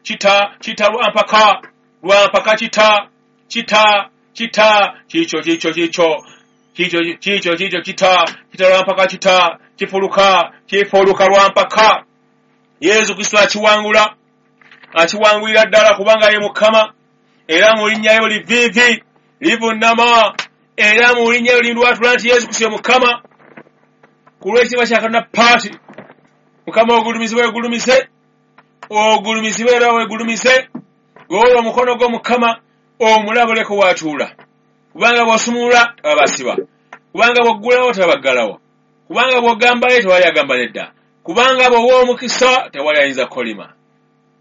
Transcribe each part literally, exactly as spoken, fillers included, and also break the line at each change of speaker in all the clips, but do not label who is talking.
Kita kita lwampaka lwampaka kita kita kita kikyo kikyo kikyo kikyo kikyo kikyo kita kita lwampaka kita kifuluka kifuluka lwampaka. Yesu Kristo akiwangula, akiwangulira ddala kubanga ye Mukama, era mu linnya lye buli viivi livunnama, era mu linnya lye lindwatula nti Yesu Kristo ye Mukama. Ku lw'ekitiibwa kya Katonda Paati, Mukama ogulumizibwe ogulumize, ogulumizibwe era wegulumize, golola omukono gwo Mukama omulabuleko w'atuula, kubanga bw'osumulula tebabasiba, kubanga bw'oggulawo tebabaggalawo, kubanga bw'ogambayo tewali agamba nedda, kubanga bw'owa omukisa tewali ayinza kukolima.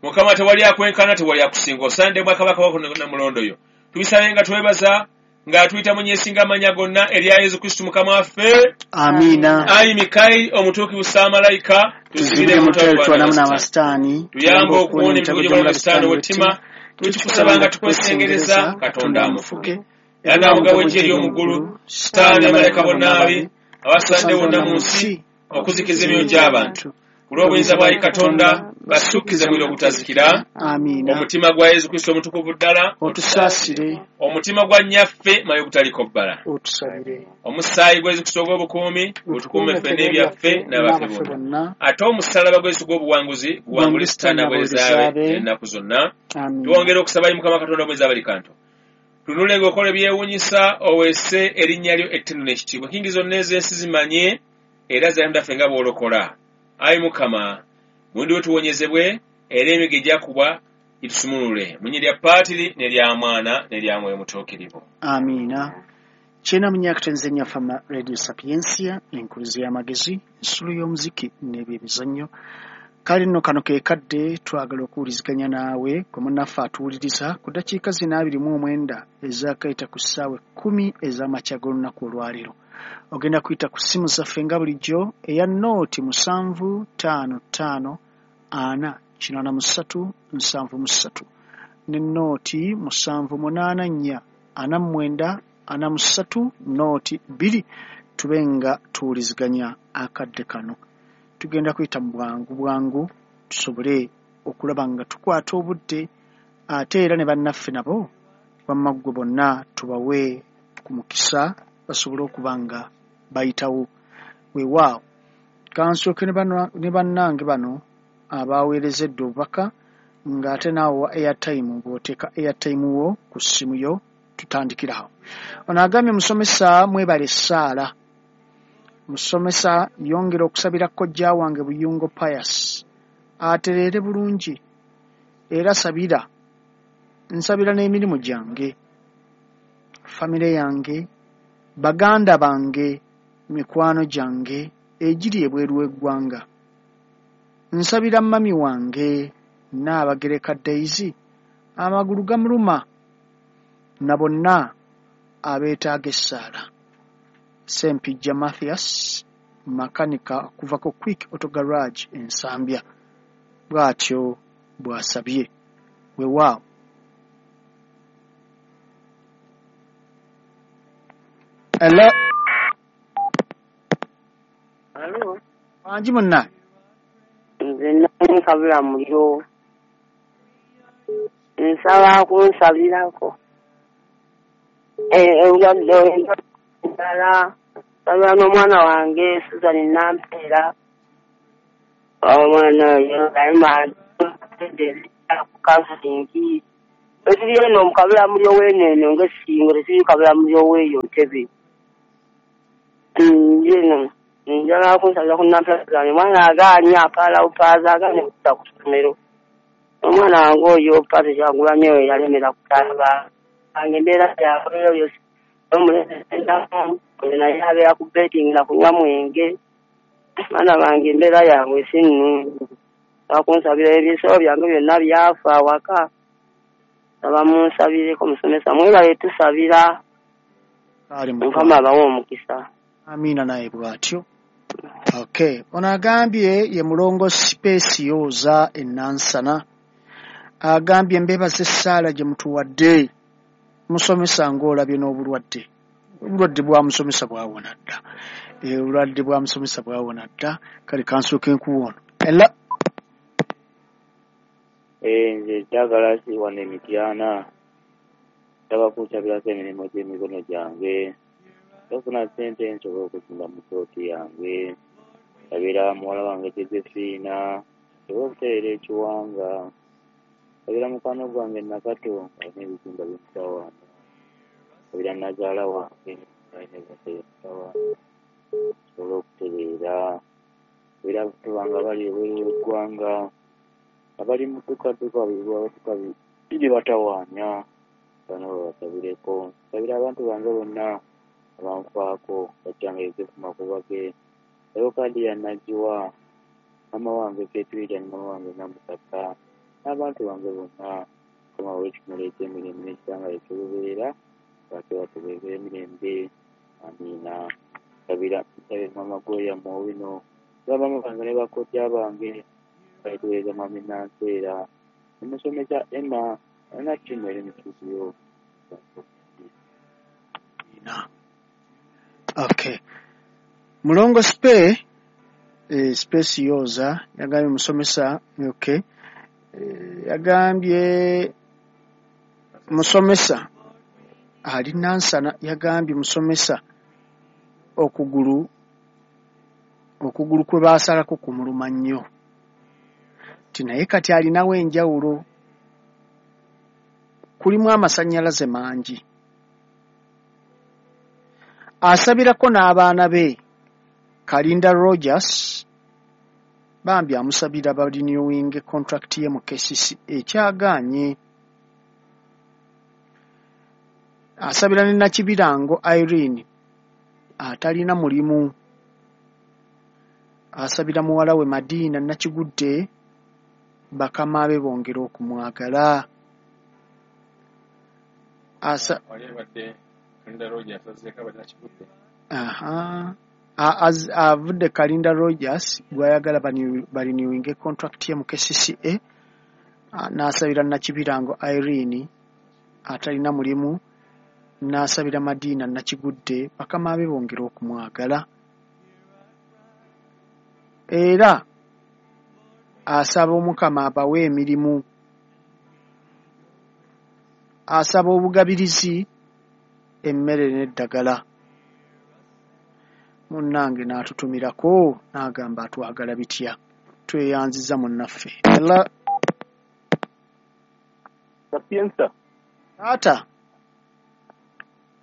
Mukama tewali akwenkana, tewali akusinga, osande bwakabaka bwako namulondo yo. Tubisabe nga twebaza nga tuyita mu nyesinga amanya gonna erya Yesu Kristo Mukama waffe.
Amiina.
Ayi Mikayiri omutuukirivu Ssaamalayika, tusibire mu lutalo
n'abasitaani,
tuyambe okuwona emivuyo gy'omulabe Sitaani ow'ettima. Tukikusaba nga tukwesengereza, Katonda amufuge. Era n'omugabo w'eggye ery'omu ggulu, Sitaani n'abamalayika bonna ababi abasadde bonna mu nsi okuzikiza emyoyo gy'abantu. Ku lw'obuyinza bwa Katonda basukkize muliro ogutazikira.
Amiina.
Omutima gwa Yesu Kristo omutukuvu ddala
otusaasire,
omutima gwa nnyaffe Maria ogutaliko bbala
otusabire,
omusaayi gwa Yesu Kristo ogw'obukuumi gutukuume ffe n'ebyaffe n'abaffe bonna, ate omusalaba gwa Yesu ogw'obuwanguzi guwangule Sitaani n'abaweereza be ennaku zonna. Twongere okusaba Mukama Katonda omwezi abali kantu, tunule ng'okola ebyewuunyisa, oweese erinnya lyo ettendo n'ekitiibwa, nkingi zonna ez'ensi zimanye era zayondaffe nga bw'olokola. Ayi Mukama, mundi we tuwonyezebwe, era emigo egyakubwa gitusumulule mu linnya lya Paatiri n'erya Mwana n'erya Mwoyo Mutuukirivu.
Amiina. Kyena munyakatenze nnyafama Radio Sapientia, enkuluzi y'amagezi, ensulu y'omuziki n'ebyemizannyo. Kale nno kano ke kadde twagala okuwuliziganya naawe gwe munnaffe atuwuliriza ku ddakiika zino abiri mu omwenda ezaakayita ku ssaawa ekkumi ez'amakya g'olunaku olwaleero. Ogenda kuyita ku ssimu zaffe nga bulijjo eya nooti musanvu ttaano ttaano ana kinaana mu ssatu nsanvu mu ssatu ne nooti musanvu munaana nnya ana mu mwenda ana mu ssatu nooti bbiri, tube nga tuwuliziganya akadde kano. Tugenda kuyita mu bwangu bwangu tusobole okulaba nga tukwata obudde, ate era ne bannaffe nabo wamma ggwe bonna tubawe ku mukisa basobole okuba nga bayitawo. Weewaawo kansooke ne bannange bano abaweerezedde obubaka, ng'ate naawe wa airtime bw'oteeka airtime wo ku ssimu yo tutandikira awo. Ono agambye, musomesa mwebale essaala, musomesa yongera okusabira kojja wange Buyungo Pius atereere bulungi, era sabira nsabira n'emirimu gyange, famire yange, baganda bange, mikwano gyange egiri ebweru w'eggwanga. Nsabira mami wange Nnaabagereka Daisy amagulu gamuluma na bonna abeetaaga essaala. Ssempijja Mathias makanika okuva ku Quick Auto Garage e Nsambya bw'atyo bw'asabye. Weewaawo. Hello.
Hello.
Wangi munna.
Nze nani kabula muliro. Nsaba kunsabirako. Eh endwadde endala nsabira n'omwana wange Susan Nampeera. Omwana oyo alima ku counseling. Etuli eno mu kabula muliro w'eneeno ng'essingo tetuli kabula muliro w'eyo Ntebe. Njeno njagala kunsabira ku Nampeera zange. Omwana agaanye apaala bupaaza agaanye okudda ku ssomero. Omwana wange oyo Pato Kyagulanyi oyo yalemera kutaba. Wange embeera yakoleyo omulenzi naye abeera ku betting na kunywa mwenge. Baana bange embeera yaabwe si nnungi. Bakunsabira ebisolo byange byonna byafa awaka. Saba munsabireko musomesa mwebale tusabira. Mukama abawe omukisa.
Amiina naye bw'atyo. Okay, ono agambye ye mulongo Specioza e Nansana. Agambye mbebaza essaala gye mutuwadde. Musomesa ng'olabye n'obulwadde. Obulwadde bwa musomesa bwawona dda. Obulwadde bwa musomesa bwawona dda. Kale kansooke nkuwa ono. Hello.
Eh, nze Douglas wano e Mityana. Nsaba kunsabirako emirimu gy'emikono gyange. Okufuna ssente nsobole okuzimba mu ppooti yange. Nsabira muwala wange Josephine nsobole okutereera ekiwanga. Nsabira mukwano gwange Nakato alina ebizimba by'omutawaana. Nsabira nnazaala wange alina ebizimba by'omutawaana nsobole okutereera. Nsabira abantu bange abali ebweru w'eggwanga abali mu ddukadduka abatuka biri batawaanya bano babasabireko. Nsabira abantu bange bonna abanfaako bajjange Yosefu Makubage, Leokadiya Najjiwa, maama wange Ketwita ne maama wange Namusaka n'abantu bange bonna. Mukama w'ekimuli eky'emirembe n'ekitangala eky'olubeerera lwaki batubeere emirembe. Amiina. Nsabira nsabira maama Gloria Mwowino, bamaama bange ne bakojja bange balituweereza mwami Nanseera ne musomesa Emma alina ttiimu eri mu studio.
Na. Okay. Mulongo Spe, eh, Space Yoza, yagambye musomesa, okay. Eh, yagambye musomesa ali Nansana, yagambye musomesa okugulu okugulu kwe baasalako kumuluma nnyo. Ti naye kati alinawo enjawulo, kulimu amasannyalaze mangi. Asabirako n'abaana be Kalinda Rogers, bambi amusabira barenewing contract ye mu K C C ekyagaanye. Asabira ne Nakibirango Irene atalina mulimu. Asabira muwala we Madina Nakigudde bakama be bongere okumwagala. Asa
Wali abadde Kalinda Rogers azzeeko abadde Nakigudde.
Aha. Avudde Kalinda Rogers gw'ayagala barenewinge contract ye mu K C C A, n'asabira Nakibirango Irene atalina mulimu, n'asabira Madina Nakigudde bakama be bongere okumwagala. Era asaba Omukama abawe emirimu. Asaba obugabirizi, emmere n'eddagala. Munnange n'atutumirako n'agamba atwagala bitya. Tweyanziza munnaffe. Ela
Sapienza.
Taata.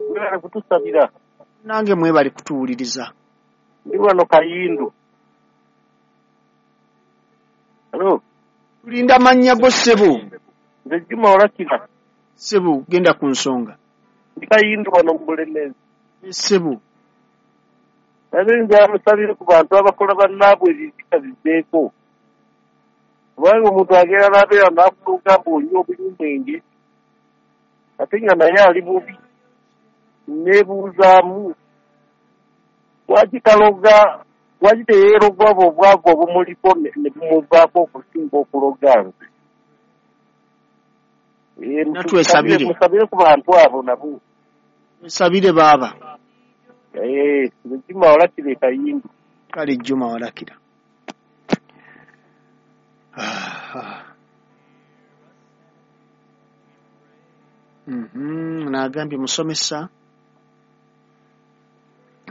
Mwebale kutusabira.
Nange mwebale kutuwuliriza.
Ndi wano Kayindu. Hello.
Tulinda mannya go ssebo.
Nze Juma Olakira.
Ssebo genda ku nsonga.
Ndi Kayindu wano mu Bulemeezi.
Ssebo.
Naye nze amusabire ku bantu abakola bannaabwe ebizika biveeko. Kubanga omuntu agenda n'abeera n'afuuka mbu onywa obunywi ate nga naye ali bubi. Neebuuzaamu lwaki taloga, lwaki teyeerogwa obwo obwavu obumuliko ne bumuvaako okusinga okuloga nze.
Natwesabire.
Musabire ku bantu abo nabo.
Twesabire baaba.
Eh, Juma Olakira e Kayindu.
Kale Juma Olakira. Mhm, n'agambye musomesa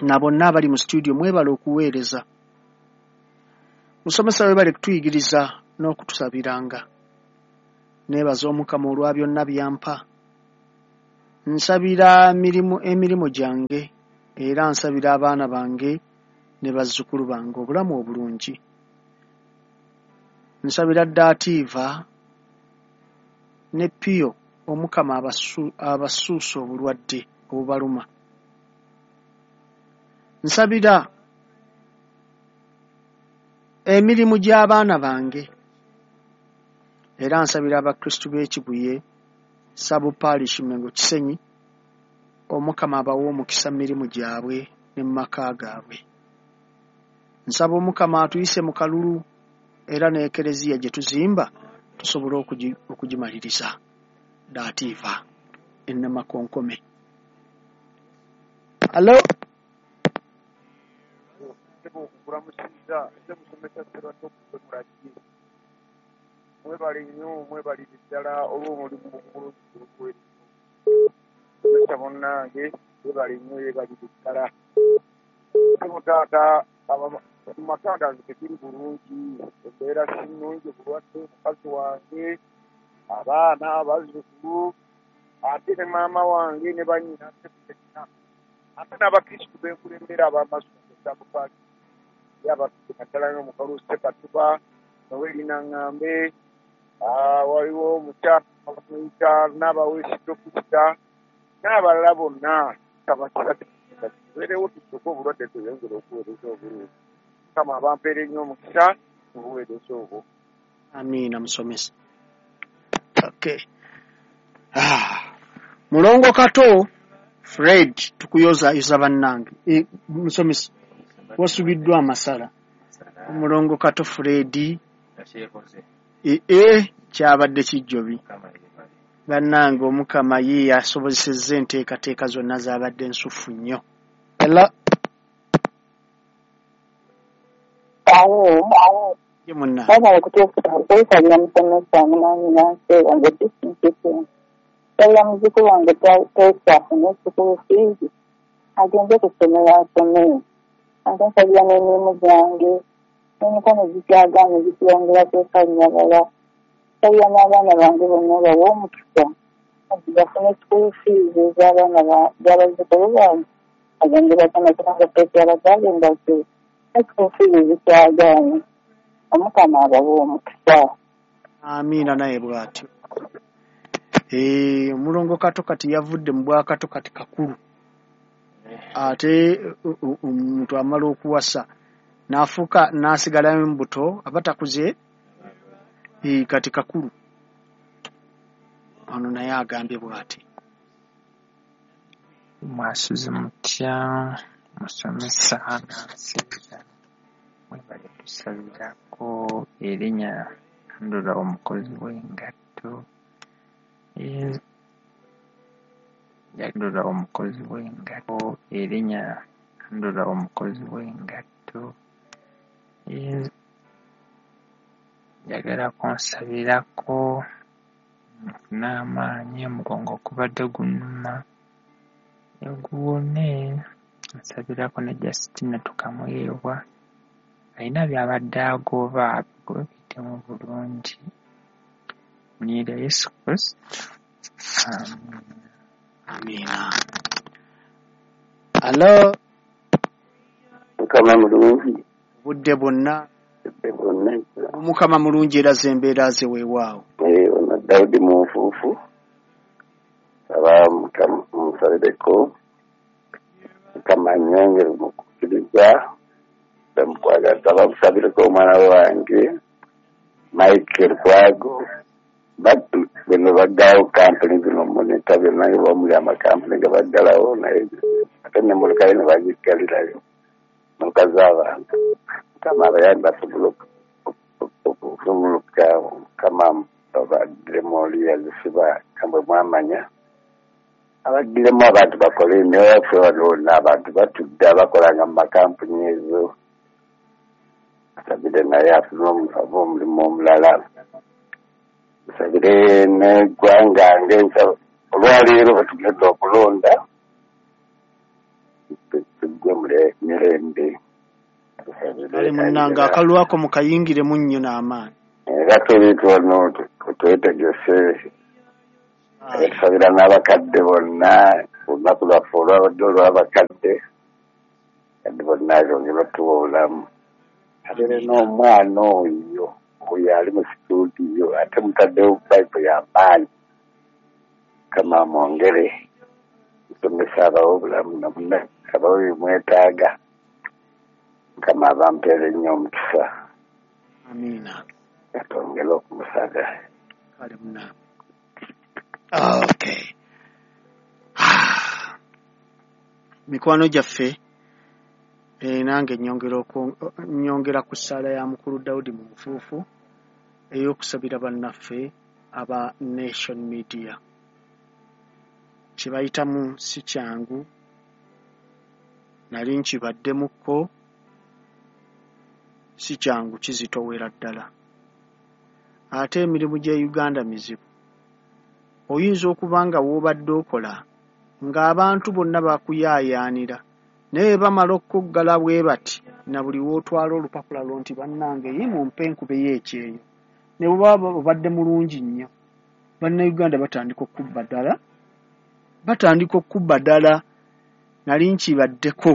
na bonna abali mu studio mwebale okuweereza. Musomesa webale kutuyigiriza n'okutusabiranga. Neebaza Omukama olwa byonna byampa. Nsabira mirimu emirimu gyange era nsabira abaana bange ne bazzukulu bange obulamu obulungi. Nsabira Dativa ne Pio Omukama abasu, abasuusa obulwadde obubaluma. Nsabira emirimu gy'abaana bange era nsabira Abakristu b'e Kibuye Sub Parish Mengo Kisenyi Omukama abawe omukisa mu mirimu gyabwe ne mu maka gaabwe. Nsaba Omukama atuyise mu kalulu era n'Ekereziya gye tuzimba tusobole okugimaliriza. Dativa Ennamakonkome. Hello.
Mwebale nnyo, mwebalire ddala olw'omulimu omulungi ogw'obuweereza. Musomesa munnange, weebale nnyo, yeebalire ddala. Ssebo taata, mu maka gange tekiri bulungi, embeera si nnungi, obulwadde, mukazi wange, abaana, abazzukulu, ate ne maama wange ne bannyina ffenna. Ate n'abakristu benkulembera ab'amasomero Sabupaaki, ye abaffe naddala n'omukalu Ssekatuba, Noeli Naŋŋambe, waliwo omukyala bamuyita Nnabaweesi Dokita, n'abalala bonna. Tubeerewo tusooke obulwadde tweyongere okuweereza obulungi. Mukama abampeere nnyo omukisa mu buweereza obwo.
Amiina musomesa. Okay. Ah. Mulongo Kato Fred, tukuyozaayoza bannange. E, musomesa wasubiddwa amasala. Mulongo Kato Fred e, e, kyabadde kijjobi. Bannange Omukama ye yasobozesezza enteekateeka zonna zaabadde nsufu nnyo. Hello.
Awo.
Ye munna.
Baba kuteesa musomesa munanyi nansi wange kisinkisin. Nsabira muzzukulu wange Teesa afune school fees agende ku ssomero asome. Ate nsabira n'emirimu gyange n'emikono gikyagaanye gikiyongera kwekannyabala. Nsabira n'abaana bange bonna bawe omukisa bafune school fees ez'abaana z'abazzukulu bange agende basome kubanga Teesa abazadde ndadde ne school fees zikyagaanye. Omukama abawe omukisa.
Amiina naye bw'atyo. Eh, Omulongo Kato kati yavudde mu bwakato kati kakulu. Ate omuntu amala okuwasa n'afuuka n'asigalayo mu buto aba takuze, eh, kati kakulu. Ono naye agambye bw'ati.
Mwasuze mutya musomesa nansiza mwebale tusabirako erinnya ndula omukozi w'engatto ndula omukozi w'engatto erinnya ndula omukozi w'engatto njagala kunsabirako nfune amaanyi omugongo gubadde gunnuma guwone. Nsabirako ne Justina Tukamuyeebwa alina by'abadde agoba abigobe biyitemu bulungi. Mu linnya lya Yesu Kristo, amiina.
Amiina. Alo.
Mukama mulungi.
Obudde bwonna.
Obudde bwonna.
Omukama mulungi era ze embeera ze weewaawo.
Eh, ono Dawudi Munfuufu. Aba Mukama musabireko. Mukama annyongere mu kukkiriza. Bamukwagala nsaba musabireko omwana wange Michael Lukwago. Bino baggalawo kampuni zino monita byonna nga bamuli amakampuni nga baggalawo naye ate n'emmotoka ye ne bagiggalirayo mmotoka z'abantu. Mukama abayambe asobole okusumuluka. Mukama abagiremu oli yazisiba nga bwe mwamanya abagiremu abantu bakole naye ffe wano wonna abantu batudde abakolanga mu makampuni ezo. Asabire naye afune omulimu omulala. Nsabire n'eggwanga ng'ensaba olwaleero bwe tugenda okulonda tuggwe mirembe.
Kale munnange akalulu ako mukayingiremu nnyo n'amaanyi.
Era tuli wano twetegese. Tusabira n'abakadde bonna olunaku lwaffe olwabadde olw'abakadde kadde bonna bongere batuwa obulamu. Ate n'omwana oyo oyo ali mu situdiyo ate mutaddewo bayibuli y'amaanyi. Mukama amwongere musomesa abawe obulamu namunne abawe bye mwetaaga. Mukama abampeere nnyo omukisa.
Amiina.
Atwongere okumusaga.
Kale munnange. Okay. Mikwano gyaffe eh, nange nnyongera nnyongera ku ssaala ya mukulu Dawudi mu nfuufu ey'okusabira bannaffe aba Nation Media. Kye bayitamu si kyangu, nali nkibaddemukko, si kyangu kizitoowera ddala. Ate emirimu gy'e Uganda mizibu. Oyinza okuba nga w'obadde okola ng'abantu bonna bakuyaayaanira, naye bamala okuggala bwe bati na buli w'otwala olupapula lwo nti bannange ye mumpe enkubeyo ekyeyo. Ne bw'oba obadde mulungi nnyo, Bannayuganda batandika okubba ddala, batandika okubba ddala. Nali nkibaddeko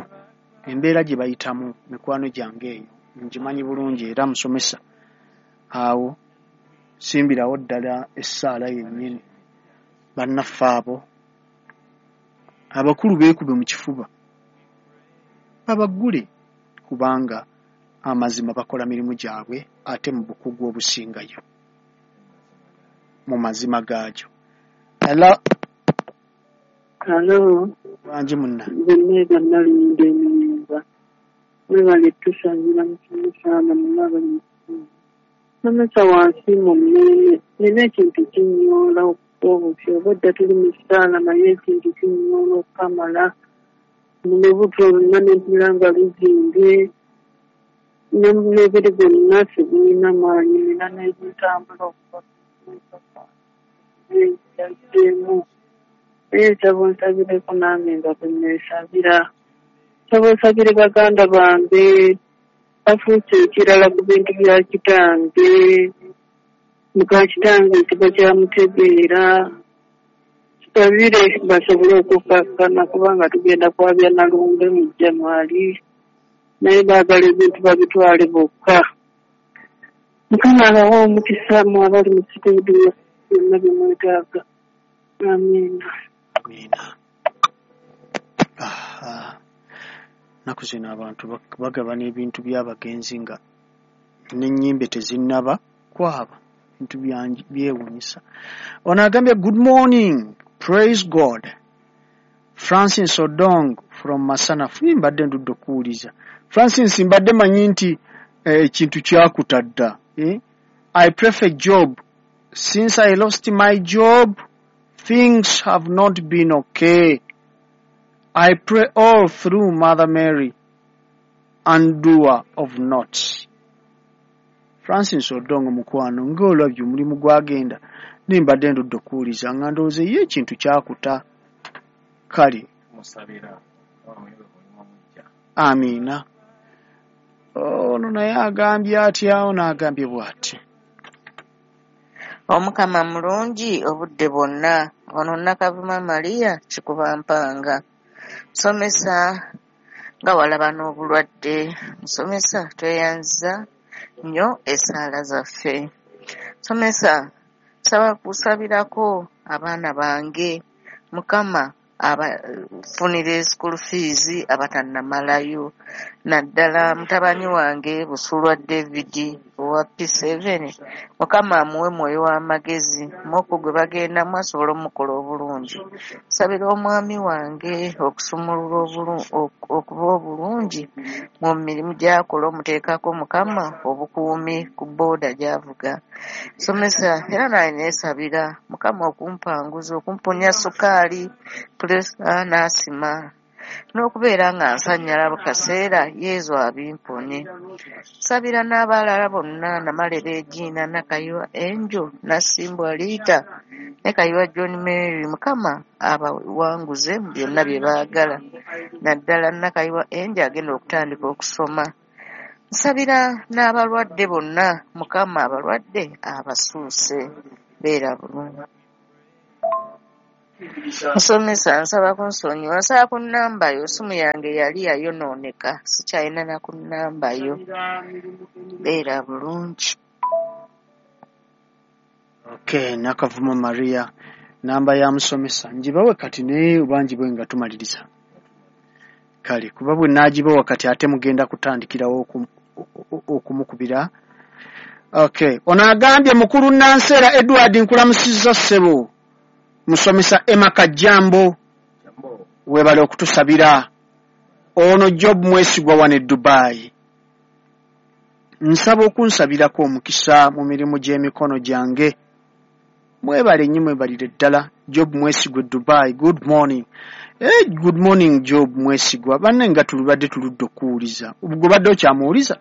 embeera gye bayitamu mikwano gyange eyo ngimanyi bulungi era musomesa awo simbirawo ddala essaala yennyini. Bannaffe abo abakulu beekube mu kifuba babaggule, kubanga amazima bakola mirimu gyabwe ate mu bukugu obusingayo mu mazima gaagyo. Hello.
Hello.
Wangi munna.
Nze Nalinda Ennyumba. Mwebale tusabira musomesa bonna abali mu kitundu. Musomesa wansi mu mmeeme, nina ekintu kinnyoola obufi obwedda tuli mu ssaala naye ekintu kinnyoola okukamala. Mu lubuto lwonna ne mpulira nga luzimbye, n'omubiri gwonna sigulina maanyi, nina n'ebintambula okuva ku naye nsaba onsabireko nange nga bwe neesabira. Nsaba osabire baganda bange bafuuse ekirala ku bintu bya kitange. Muka kitange tebakyamutegeera. Tusabire basobole okukkakkana kubanga tugenda kwabya nalumbe mu January, naye baagala ebintu babitwale bokka. Mukama abawe omukisa mmwe abali mu situdiyo byonna bye mwetaaga. Amiina.
Amiina. Aha. Nnaku zino abantu bagabana ebintu by'abagenzi nga n'ennyimbe tezinnaba kwaba. Bintu byewuunyisa. Ono agambye good morning, praise God. Francis Odong from Masanafu. Mbadde ndudde okuwuliza. Francis, mbadde manyi nti ekintu kyakutadda. Eh? I prefer job. Since I lost my job, things have not been okay. I pray all through Mother Mary, undoer of knots. Francis Odongo mukwano ng'olabye omulimu gwagenda naye mbadde ndudde okuwuliza nga ndowooza ye ekintu kyakuta. Kale amiina. Ono naye agambye atya? Ono agambye bw'ati.
Omukama mulungi obudde bwonna. Ono Nakavuma Maria kikuba mpanga. Musomesa nga walaba n'obulwadde. Musomesa tweyanziza nnyo essaala zaffe. Musomesa nsaba kusabirako abaana bange. Mukama abafunire school fees abatannamalayo, naddala mutabani wange Busulwa David owa P seven. Mukama amuwe mwoyo w'amagezi moko gwe bagendamu asobole omukola obulungi. Nsabira omwami wange okusumulula okuba obulungi mu mirimu gy'akola, omuteekako Mukama obukuumi ku booda gy'avuga. Somesa era naye neesabira Mukama okumpanguza, okumponya sukaali, pulesa n'asima, n'okubeera nga nsanyala bukaseera Yezu abimponye. Nsabira n'abalala bonna, Namale Regina, Nakayiwa Angel, Nasimbwa Rita ne Kayiwa John Mary. Mukama abawanguze mu byonna bye baagala, naddala Nakayiwa Angel agenda okutandika okusoma. Nsabira n'abalwadde bonna, Mukama abalwadde abasuuse. Beera bulungi. Musomesa nsaba kunsonyiwa, nsaba ku nnamba yo, essimu yange yali yayonooneka, sikyalina na ku nnamba yo. Beera bulungi.
Okay, Nakavuma Maria, namba ya musomesa njibawe kati naye oba njibawe nga tumaliriza. Kale kuba bwe naagibawa kati ate mugenda kutandikirawo okumukubira. Okay, ono agambye mukulu Nansera Edward nkulamusizza ssebo. Musomesa Emma Kajambo webale okutusabira. Ono Job Mwesigwa wano e Dubai. Nsaba okunsabirako omukisa mu mirimu gy'emikono gyange. Mwebale nnyo, mwebalire ddala. Job Mwesigwa e Dubai, good morning. Eh, good morning Job Mwesigwa. Banne nga tulubadde tuludde okuwuliza. Gwe badde okyamuwuliza?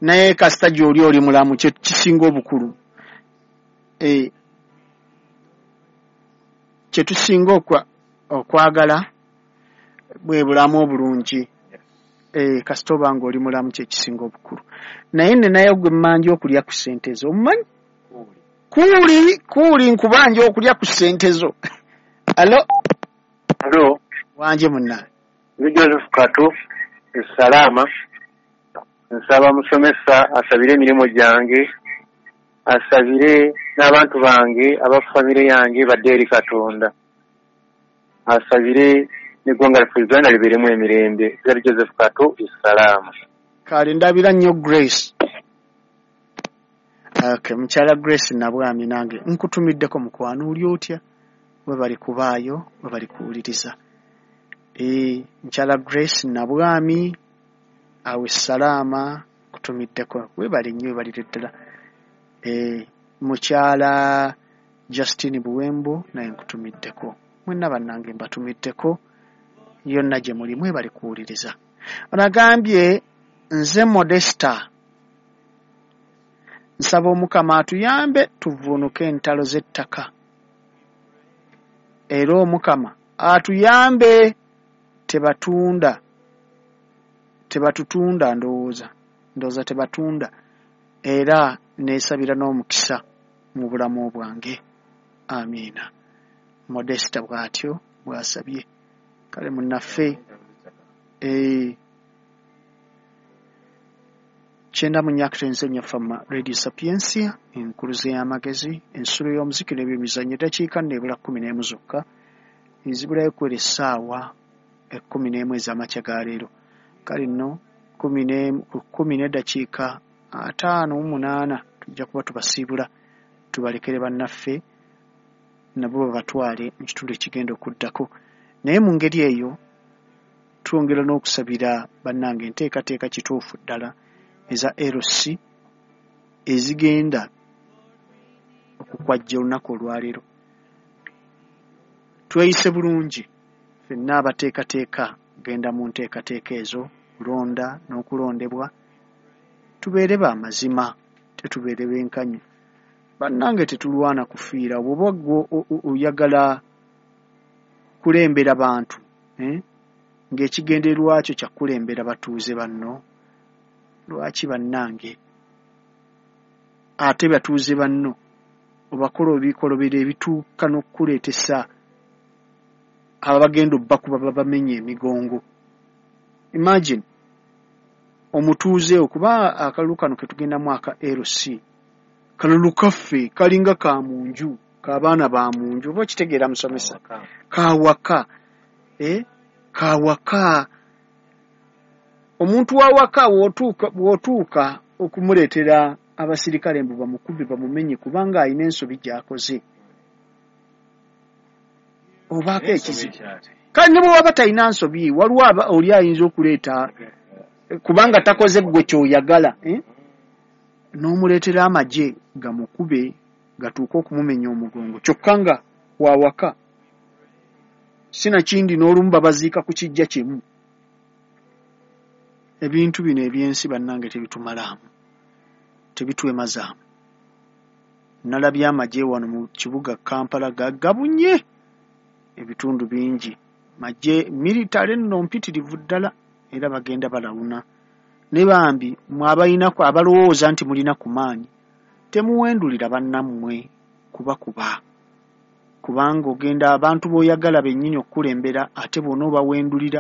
Naye kasita gy'oli oli mulamu, kye kisinga obukulu. Eh, kye tusinga okwa okwagala bwe bulamu obulungi. Eh, kasita oba ng'oli mulamu kye kisinga obukulu. Naye nnenayo gwe mmanja okulya ku ssente zo, omumanyi? Kuuli, kuuli nkubanja okulya ku ssente zo. Alo?
Alo.
Wanje munnange.
Nze Joseph Kato, Esalaama. Nsaba musomesa asabire emirimu gyange, asabire n'abantu bange, aba famire yange badde eri Katonda. Asabire n'eggwanga lyaffe Uganda libeeremu emirembe. Nze Joseph Kato, Esalaama.
Kale ndabira nnyo Grace. Okay, mukyala Grace Nabwami nange nkutumiddeko mukwano, oli otya? Webali kubaayo, webali kuwuliriza. Eh, mukyala Grace Nabwami awe Salaama kutumiddeko, webali nnyo, webalire ddala. Eh, mukyala Justine Buwembo naye nkutumiddeko. Mwenna bannange mbatumiddeko yonna gye muli, mwebali kuwuliriza. Onagambye nze Modesta, nsaba Omukama atuyambe tuvvuunuke entalo z'ettaka, era Omukama atuyambe tebatunda tebatutunda ndowooza ndowooza tebatunda, era neesabira n'omukisa mu bulamu bwange. Amiina. Modesta bw'atyo bw'asabye. Kale munnaffe eh, kyenda mu nnya akatonyeza Fama Radio Sapientia, enkuluze y'amagezi, ensulo y'omuziki n'ebyemizannyo. Eddakiika nno ebula kkumi n'emu zokka ezibulayo kwera essaawa ekkumi n'emu ez'amakya ga leero. Kale nno kkumi n'emu ku kkumi n'eddakiika ataano mu munaana tujja kuba tubasiibula, tubalekere bannaffe nabo babatwale mu kitundu ekigenda okuddako. Naye mu ngeri eyo twongera n'okusabira bannange enteekateeka kituufu ddala eza L C ezigenda okukwajja olunaku olwaleero. Tweyise bulungi ffenna abateekateeka genda mu nteekateeka ezo, kulonda n'okulondebwa, tubeere ba mazima, tetubeere benkanyi. Bannange tetulwana kufiira. Bw'oba ggwe oyagala kulembera bantu, eh? Ng'ekigendererwa kyo kya kulembera batuuze banno, lwaki bannange ate batuuze banno obakola ebikolobero ebituuka n'okukuleetesa abagenda obbakuba babamenye emigongo? Imagine omutuuze, okuba akalulu kano ke tugendamu aka L C, kalulu kaffe kalinga ka mu nju, k'abaana ba mu nju, oba okitegeera musomesa? Kawaka, eh? Kawaka. Omuntu w'awaka w'otuuka w'otuuka okumuleetera abasirikale mbu bamukube bamumenye kubanga alina ensobi gy'akoze, obaako ekizibu. Kale ne bwe waba talina nsobi, waliwo oli ayinza okuleeta kubanga takoze ggwe ky'oyagala, eh? N'omuleetera amagye gamukube gatuuke okumumenya omugongo, kyokka nga wawaka. Sinakindi n'olumu babaziika ku kijja kimu. Ebintu bino ebyensi bannange tebitumalaamu, tebitwemazaamu. Nalabye amagye wano mu kibuga Kampala gagabunye ebitundu bingi, magye militale nno mpitirivu ddala, era bagenda balawuna. Ne bambi mwe abayinako abalowooza nti mulina ku maanyi, temuwendulira bannammwe kubakuba, kubanga ogenda abantu b'oyagala bennyini okukulembera, ate bw'onoobawendulira